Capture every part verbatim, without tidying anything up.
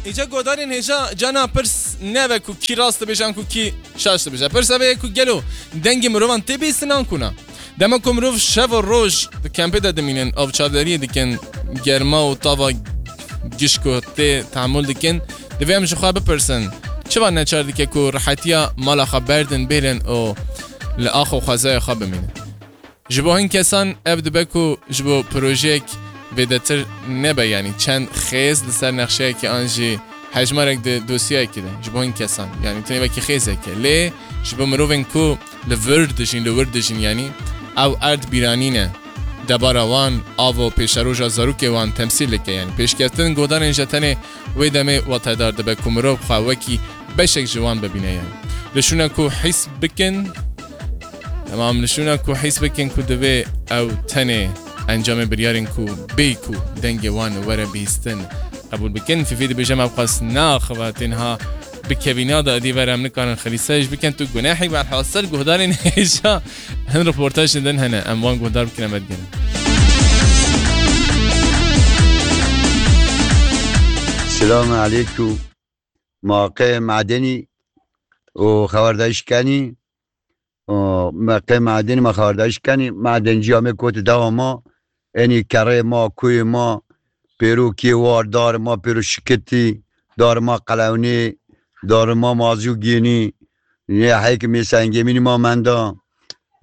Îca godarên hêja cana pirs nebe ku kî rast dibêje an ku kî şaş dibêje. Pirs ev e ku gelo dengê mirovan tê bîstin an ku na? Dema ku mirov şev û roj di kempê de dimînin, avçavdariyê dikin, germa û tava gişko tê tehemûl dikin, divê em ji xwe bipirsin, çiva neçar dike ku rihetiya mala xwe berdin bêrin û li ax û xwezaya xwe bimînin? Ji bo hin kesan ev dibe ku ji bo projeyek vêdetir nebe, yanî çend xêz li ser nexşeyekê an jî hejmarek di dosyayekê de ji bo hin kesan, yanî tenê wekî xêzek e. Lê ji bo mirovên ku li vir dijîn, li wir dijîn, yanî ew erd bîranî ne, debara wan, av û pêşeroja zarokê wan temsîl dike, yanî pêşketin godarên ji tenê wê demê watedar dibe ku mirov xwe wekî beşek ji wan bibîne, yanî li şûna ku hîs bikin, Em li şûna ku hîs bikin ku divê ew tenê encamê biryarên ku bê ku dengê wan were bihîstin qebûl bikin. Fîfî dibêje me qas naxive tênha bi kevîna de dî ver em nikarin xilîsayîş bikin tu gunehî welhasil guhdarên hêja hin reportajên din hene. Em wan guhdar bikin em vedigerin. Selamun aleykum. Ma qê madenî û xewerdayiş kenî, û me qê madenî ma xewerdayiş kenî, madenciya me koti dewa ma, enî kerê ma, kuyê ma, pêro kê war, dar ma pêro şikitî, dar ma qelewnê, dar ma mazû gênî, ne heyk mêsa engemînî ma menda,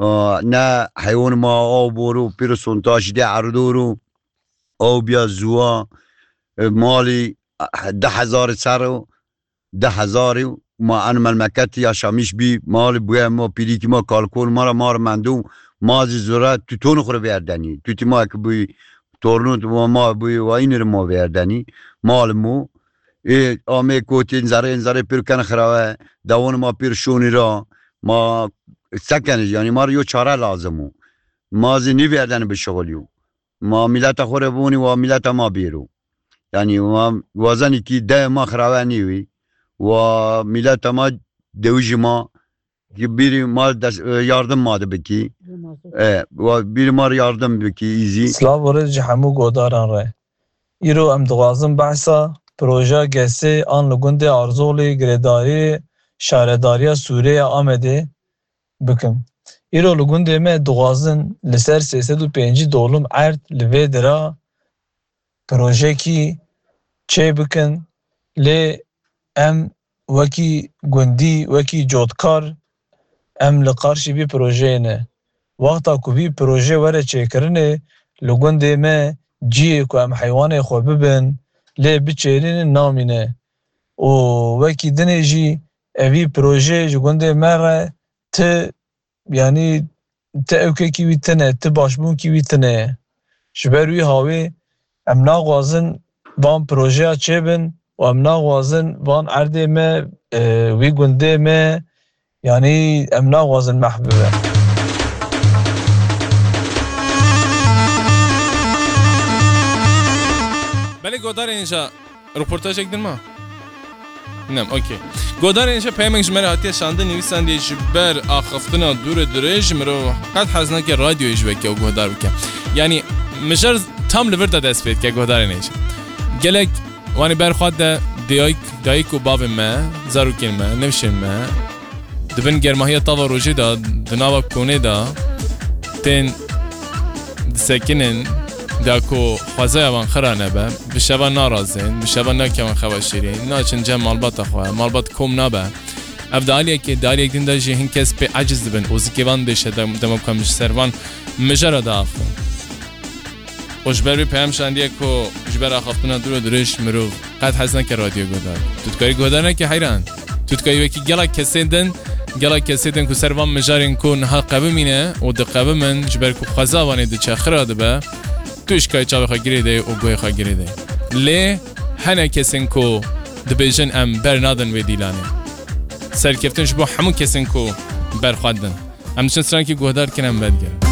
û ne heywan ma aw boru pêro sontaşî de erdor û aw biya zuwa, e, malî, e, du hezar ser û du hezarî û ma en memleketî yaşamiş bî, malî bûye ma pîrîkî ma kalkol ma ra mar mendû, ma zî zura tuton xwe vêrdenî. Tutî ma ki bûyî tornût ma, ma bûyî wa înir ma vêrdenî. Mal mû. Ê amê kotên zerê, zerê pêr ken xirawe, dewon ma pêr şonî ra, ma sekenij, yanî ma ra yo çare lazim û. Ma zî nîvêrdenî bi şixulî û. Ma mîleta xwe re bûnî wa mîleta ma bêro. Yanî wa, wa zenî kî de ma xirawe nî wî. Wa mîleta ma dewî ji ma ki bîrî ma des-, e, yardim ma de bikî. E, wa bîrî ma yardim bikî îzî. Silav û rêz ji hemû godaran re. Îro em dixwazin behsa projeya gesê an li gundê Arzolê girêdarî şaredariya Sûrê ya Amedê bikim. Îro li gundê me dixwazin li ser sê sed û pêncî dolum erd li vê dira projekî çê bikin, lê em wekî gundî, wekî cotkar em li qarşî vî projeyê ne. Wexta ku vî proje were çêkirinê, li gundê me cihê ku em heywanê xwe bibin, lê biçêrînin namîne. Û wekî dinê jî evî proje ji gundê me re ti, yanî ti ewkekî wî tine, ti başbûnkî wî tine ye. Ji ber wî hawê em naxwazin van projeya çêbin û em naxwazin van erdê me, e, wî gundê me, yanî em naxwazin mehv bibe. Belê godarên ja Roportajek din ma? Nem, okey. Godarên ji peyamek ji me re hatiye şandin, nivîsandiye ji ber axiftina dûr û dirêj, mirov qet hez nake radyoyê ji weke û guhdar bike. Yanî, mijar tam li vir de dest pê dike, godarên hêja. Gelek wanî ber xwe de dayik, dayik û bavên me, zarokên me, nifşên me, di bin germahiya tava rojê de, di nava konê de tên disekinin, da ku xwezaya wan xira nebe, bi şeva narazên, bi şeva nakevin xewa şêrîn, naçin cem malbata xwe, malbat kom nabe. Ev di aliyekê, di aliyek din de jî hin kes pê eciz dibin û zikê van dêşe dem-, dema ku em ji ser van mijara diaxivin. Û ji ber vê peyam şandiye ku ji ber axaftina dûr û dirêj mirov qet hez neke radyo guhdar. Tu dikarî guhdar neke heyran. Tu dikarî wekî gelek kesên din, gelek kesê din ku ser van mijarên ku niha qevimîne û diqevimin, ji ber ku xweza vanê diçe xira dibe, tu îşkayê çavê xwe girê de û guhê xwe girê de. Lê hene kesên ku dibêjin em ber nadin vê dîlanê. Serkeftin ji bo hemû kesên ku ber xwe din. Em diçin strankî guhdar kin em vedigerin.